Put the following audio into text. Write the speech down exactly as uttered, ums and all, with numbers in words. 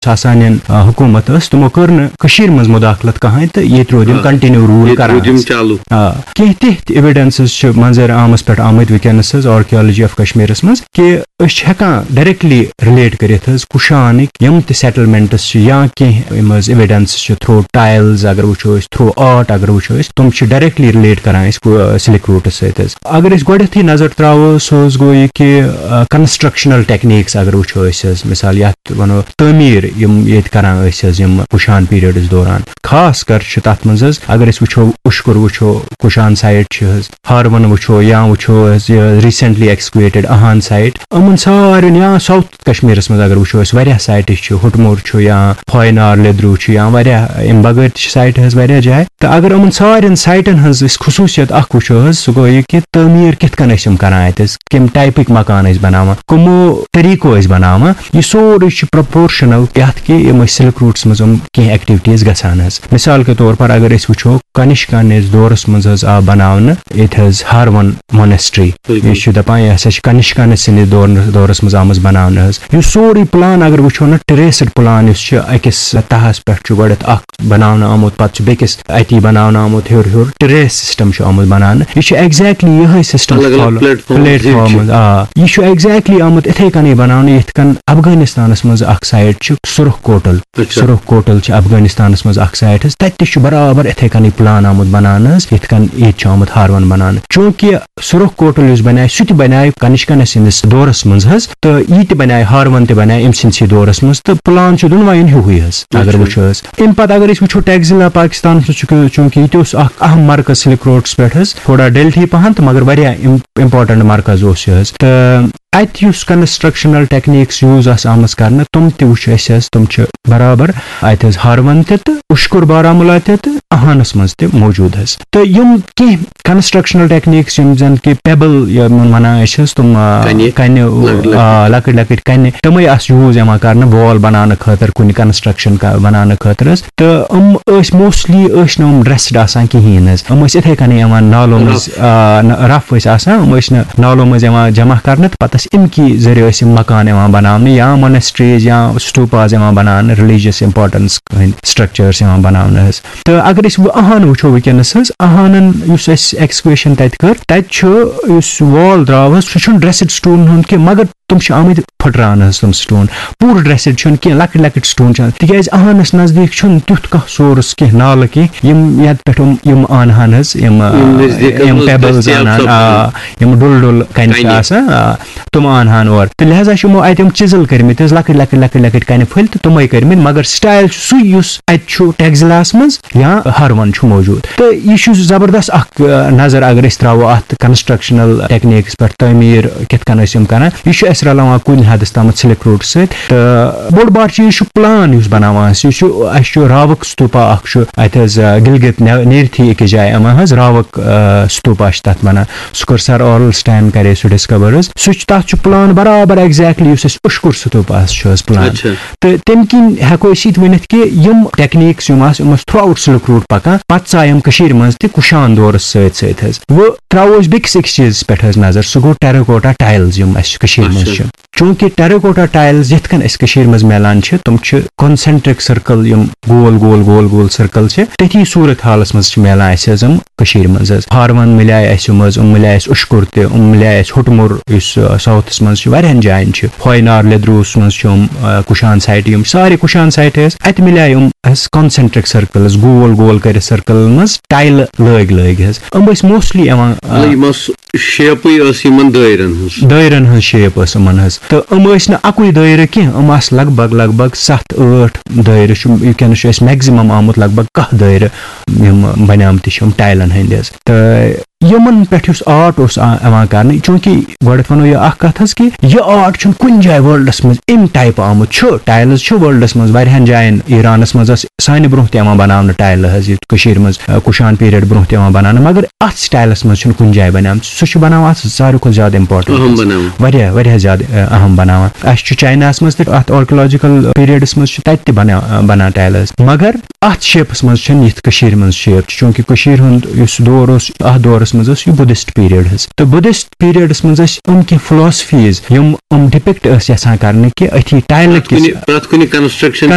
ساسانین، آ، حکوٗمت ٲس، تِمو کٔر نہٕ کٔشیٖرِ منٛز مداخلت کٕہٕنۍ تہٕ ییٚتہِ روٗد یِم آ۔ Continue rule ییٚتہِ کران روٗد یِم حظ۔ چالوٗ۔ آ، کینٛہہ تِتھۍ evidences چھِ منظر عامس پٮ۪ٹھ آمٕتۍ وٕنکیٚنس حظ، archaeology of کشمیرس منٛز، کہِ أسۍ چھِ ہٮ۪کان directly relate کٔرِتھ حظ کُشانٕکۍ یِم تہِ settlements چھِ یا کینٛہہ یِم حظ evidences چھِ through tiles اگر وٕچھو أسۍ، through art اگر وٕچھو أسۍ، تِم چھِ directly relate کران أسۍ سلک روٗٹس سۭتۍ حظ۔ اگر أسۍ گۄڈٕنیتھٕے نظر تراوو، سُہ حظ گوٚو یہِ کہِ، آ، constructional techniques اگر وٕچھو أسۍ حظ، مثال یتھ ونو تعمیٖر، یِم ییٚتہِ کران ٲسۍ حظ یِم کُشان periods دوران، خاص کر چھِ تتھ منٛز حظ اگر أسۍ وٕچھو، اُشکُر وٕچھو، کُشان site چھِ حظ، ہاروَن وٕچھو یا وٕچھو أسۍ یہِ recently excavated اہان site، یِمَن سارنٕے یا South کشمیٖرَس منٛز اگر وٕچھو أسۍ واریاہ siteٕز چھِ، ہُٹمُر چھُ یا فاینار لیدروٗ چھُ یا واریاہ، اَمہِ بغٲر تہِ چھِ site حظ واریاہ جایہِ۔ تہٕ اگر یِمَن سارنٕے siteن ہٕنٛز أسۍ خصوٗصیت اَکھ وٕچھو حظ، سُہ گوٚو یہِ کہِ تعمیٖر کِتھ کٔنۍ ٲسۍ یِم کَران اَتہِ حظ، کَمہِ typeٕکۍ مکان ٲسۍ بَناوان، کٕمو طریٖقو ٲسۍ بَناوان، یہِ سورُے چھُ proportional یَتھ کہِ یِم ٲسۍ سِلک روٗٹَس منٛز یِم کینٛہہ activities گژھان حظ۔ مثال کے طور پر اگر أسۍ وٕچھو، کنشکانِس دورس منٛز حظ آو بناونہٕ ییٚتہِ حظ ہاروَن monastery۔ بِلکُل۔ یہِ چھُ دپان، یہِ ہسا چھِ کنشکانِس سٕنٛدِ دور-، دورس منٛز آمٕژ بناونہٕ حظ۔ یُس سورُے plan اگر وٕچھو نہ، terraced plan یُس چھُ، أکِس تہس پٮ۪ٹھ چھُ گۄڈٕنٮ۪تھ اکھ بناونہٕ آمُت، پتہٕ چھُ بیٚکِس اتی بناونہٕ آمُت ہیوٚر ہیوٚر، terrace system چھُ آمُت بناونہٕ۔ یہِ چھُ exactly یِہوٚے system الگ الگ follow-، platform، platform۔ آ، یہِ چھُ exactly آمُت یِتھَے کٔنی بناونہٕ، یِتھ کٔنۍ افغانستانس منٛز اکھ site چھُ سُرخ کوٹل۔ اچھا۔ سُرخ کوٹل چھِ افغانستانس منٛز اکھ site حظ، تتہِ تہِ چھُ برابر اِتھَے کٔنی plan آمُت بناونہٕ حظ، یِتھ کٔنۍ ییٚتہِ چھُ آمُت ہاروَن بناونہٕ۔ چوٗنٛکہِ سُرخ کوٹل یُس بنیٛاے، سُہ تہِ بنیٛاے کنشکانِس سٕنٛدِس دورس منٛز حظ، تہٕ یہِ تہِ بنیٛاے، ہاروَن تہِ بنیٛاے أمۍ سٕنٛدسٕے دورس منٛز، تہٕ plan چھُ دۄنوَیَن ہیُوٕے حظ، اگر اچھا۔ وٕچھو حظ۔ اَمہِ پتہٕ اگر أسۍ وٕچھو ٹیکزِلا پاکستانس منٛز چھُ، چوٗنٛکہِ یہِ تہِ اوس اکھ اہم مرکز سِلک روڈس پٮ۪ٹھ حظ، تھوڑا ڈیلٹھی پہن تہٕ مگر واریاہ اِم-، important مرکز اوس یہِ حظ۔ تہٕ اتہِ یُس constructional techniques use آسہٕ آمٕژ کرنہٕ، تِم تہِ وٕچھ اَسہِ حظ، تِم چھِ برابر اتہِ حظ ہاروَن تہِ تہٕ اُشکُر بارہمولہ تہِ تہٕ اہانس منٛز تہِ موجود حظ۔ تہٕ یِم کینٛہہ constructional techniques یِم زن کہِ pebble یِمن ونان أسۍ حظ، تِم، آ، کنہِ۔ کنہِ، لۄکٕٹۍ لۄکٕٹۍ۔ آ، لۄکٕٹۍ لۄکٕٹۍ کنہِ، تِمے آسہٕ use یِوان کرنہٕ wall بناونہٕ خٲطرٕ، کُنہِ construction کا-، بناونہٕ خٲطرٕ حظ۔ تہٕ یِم ٲسۍ mostly ٲسۍ نہٕ یِم dressed آسان کِہیٖنۍ حظ، یِم ٲسۍ یِتھَے کٔنۍ یِوان نالو منٛز، rough۔ آ، نہ، rough ٲسۍ آسان، یِم ٲسۍ نہٕ نالو منٛز یِوان جمع کرنہٕ، تہٕ پتہٕ ٲسۍ اَمہِ کہِ ذٔریعہٕ ٲسۍ یِم مکان یِوان بناونہٕ یا monasteries یا stupas یِوان بناونہٕ، religious importance ہٕنٛدۍ structures یِوان بناونہٕ حظ۔ تہٕ اگر أسۍ وۄنۍ اہان وٕچھو وٕنکیٚنس حظ، اہانن یُس اَسہِ excavation تَتہِ کٔر، تَتہِ چھُ یُس wall درٛاو حظ، سُہ چھُنہٕ dressed stoneن ہُنٛد کینٛہہ، مگر تِم چھِ آمٕتۍ پھٕٹراونہٕ حظ تِم stone۔ پوٗرٕ dressed چھُنہٕ کینٛہہ، لۄکٕٹۍ لۄکٕٹۍ stone چھِ آمٕتۍ۔ تِکیٛازِ اہانَس نزدیٖک چھُنہٕ تیُتھ کانٛہہ source کینٛہہ، نالہٕ کینٛہہ، یِم یَتھ پٮ۪ٹھ یِم، یِم اَنہٕ ہَن حظ، یِم، آ، یِم نزدیٖک یِم منٛز pebbles دٔستیاب اَنہٕ ہَن، سَپدَن۔ آ، یِم ڈُل ڈُل کَنہِ چھِ کَنہِ۔ آسان، آ، تِم اَنہٕ ہَن اورٕ۔ تہٕ لہذا چھِ یِمو اَتہِ یِم chisel کٔرمٕتۍ حظ، لۄکٕٹۍ لۄکٕٹۍ لۄکٕٹۍ لۄکٕٹۍ کَنہِ پھٔلۍ تہٕ تِمَے کٔرمٕتۍ، مگر style چھُ سُے یُس اَتہِ چھُ ٹیکزِلاہَس منٛز یا ہاروَن چھُ موجود۔ تہٕ یہِ چھُ زبردست اکھ، آ، نظر اگر أسۍ تراوو اتھ constructional techniques پٮ۪ٹھ، تعمیٖر کِتھ کٔنۍ ٲسۍ یِم کران۔ یہِ چھُ اَسہِ رلاوان کُنہِ حدس تامَتھ سِلک روڈ سۭتۍ۔ تہٕ بوٚڑ بار چیٖز چھُ plan یُس بناوان اَسہِ۔ یہِ چھُ، اَسہِ چھُ راوک ستوپا اکھ چھُ اَتہِ حظ، آ، گلگت نے-، نیرتھی أکِس جایہِ یِوان حظ، راوک، آ، ستوپا چھِ تَتھ وَنان۔ سُہ کوٚر سر آرل سٹین، کرے سُہ discover حظ۔ سُہ چھُ، تَتھ چھُ plan برابر exactly یُس اَسہِ اُشکُر ستوپاہَس چھُ حظ plan۔ اچھا۔ تہٕ تَمہِ کِنۍ ہٮ۪کو أسۍ یہِ تہِ ؤنِتھ کہِ یِم techniques یِم آسہٕ، یِم ٲسۍ throughout سِلک روٗٹ پَکان، پَتہٕ ژاے یِم کٔشیٖرِ منٛز تہِ کُشان دورَس سۭتۍ سۭتۍ حظ۔ وۄنۍ ترٛاوو أسۍ بیٚکِس أکِس چیٖزَس پٮ۪ٹھ حظ نظر، سُہ گوٚو terracotta tiles یِم اَسہِ کٔشیٖرِ منٛز اچھا۔ چھِ۔ چوٗنٛکہِ terracotta tiles یِتھ کٔنۍ اَسہِ کٔشیٖرِ منٛز میلان چھِ، تِم چھِ concentric circle، یِم گول گول گول گول circle چھِ، تٔتھی صوٗرت حالَس منٛز چھِ میلان اَسہِ حظ یِم کٔشیٖرِ منٛز حظ۔ ہاروَن مِلیٛاے اَسہِ یِم حظ، یِم مِلیٛاے اَسہِ اُشکُر تہِ، یِم مِلیٛاے اَسہِ ہُٹمُر، یُس، آ، southس منٛز چھُ، واریاہَن جایَن چھِ۔ ہوینار لیدروٗہَس منٛز چھُ یِم، آ، کُشان site، یِم سارے کُشان site حظ۔ اَتہِ مِلیٛاے یِم اَسہِ concentric circles، گول گول کٔرِتھ circleن منٛز ٹایلہٕ لٲگۍ لٲگۍ حظ۔ یِم ٲسۍ mostly یِوان، آ، مطلب، یِم ٲس shapeٕے ٲس یِمن دٲیرَن ہٕنٛز۔ دٲیرَن ہٕنٛز shape ٲس یِمَن حظ۔ تہٕ یِم ٲسۍ نہٕ اَکُے دٲیرٕ کینٛہہ، یِم آسہٕ لگ بگ، لگ بگ سَتھ ٲٹھ دٲیرٕ چھُ، وٕنکیٚنَس چھُ اَسہِ maximum آمُت لگ بگ کاہ دٲیرٕ، یِم بنیمٕتۍ چھِ یِم ٹایلَن ہٕنٛدۍ حظ۔ تہٕ یِمَن پٮ۪ٹھ یُس art اوس آ-، یِوان کرنہٕ، چوٗنٛکہِ گۄڈٕنٮ۪تھ وَنو یہِ اَکھ کَتھ حظ کہِ یہِ art چھُنہٕ کُنہِ جایہِ worldس منٛز اَمہِ typeہٕ آمُت۔ چھُ، tiles چھُ worldس منٛز واریاہَن جایَن، ایرانَس منٛز ٲس سانہِ برونٛہہ تہِ یِوان بناونہٕ ٹایلہٕ حظ، یہِ کٔشیٖرِ منٛز، آ، کُشان period برونٛہہ تہِ یِوان بناونہٕ، مگر اَتھ styleس منٛز چھُنہٕ کُنہِ جایہِ بنیمٕژ۔ سُہ چھُ بناوان اَتھ ساروی کھۄتہٕ زیادٕ importance۔ اہم بناوان۔ واریاہ، واریاہ زیادٕ، آ، اہم بناوان۔ اَسہِ چھُ چایناہَس منٛز تہِ اَتھ archaeological periodس منٛز چھُ تَتہِ تہِ بنا-، آ، بنان ٹایلہٕ حظ۔ مگر اَتھ shapeس منٛز چھَنہٕ یِتھ کٔشیٖرِ منٛز shape چھِ، چوٗنٛکہِ کٔشیٖرِ ہُنٛد یُس دور اوس، اَتھ دورَس منٛز اوس یہِ Buddhist period حظ۔ تہٕ Buddhist periodس منٛز ٲسۍ یِم کینٛہہ philosophies، یِم یِم depict ٲسۍ یَژھان کرنہٕ کہِ أتھی ٹایلہٕ پرٛٮ۪تھ کِس کُنہِ، پرٛٮ۪تھ کُنہِ construction